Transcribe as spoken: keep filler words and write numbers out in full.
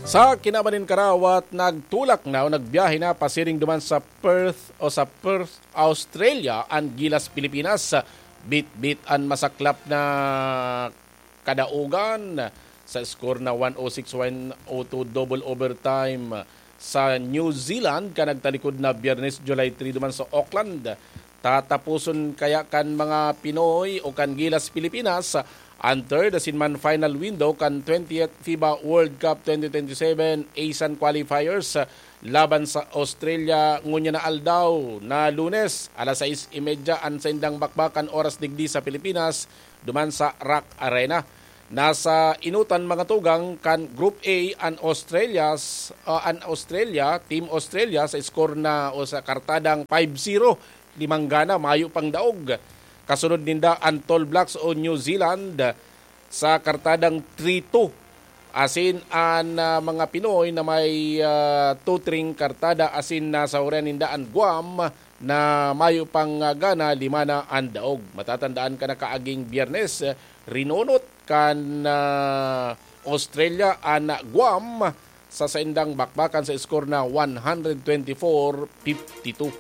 Sa kinaban nin karawat, nagtulak na o nagbiyahe na pasiring duman sa Perth o sa Perth, Australia, an Gilas Pilipinas. Bitbit an masaklap na kadaogan sa score na one oh six, one oh two, double overtime sa New Zealand, kan nagtalikod na Biyernes, July three, duman sa Auckland. Tatapuson kaya kan mga Pinoy o kan Gilas Pilipinas an third asin man final window kan twentieth FIBA World Cup twenty twenty-seven ASEAN qualifiers laban sa Australia ngunyan na aldaw na Lunes, alas sais y media an saindang bakbakan oras digdi sa Pilipinas, duman sa Rock Arena. Nasa enotan mga tugang kan Group A an Australia's, ah, an Australia, Team Australia sa score na o sa kartadang five zero, limang gana, mayo pang daog. Kasunod ninda an Tall Blacks o New Zealand sa kartadang three two. Asin an, ah, mga Pinoy na may, ah, tutring kartada asin nasahuran ninda an Guam na mayo pang, ah, gana, lima na an daog. Matatandaan kan nakaaging Biyernes, eh, rinunot kan, ah, Australia an Guam sa saindang bakbakan sa score na one twenty-four fifty-two.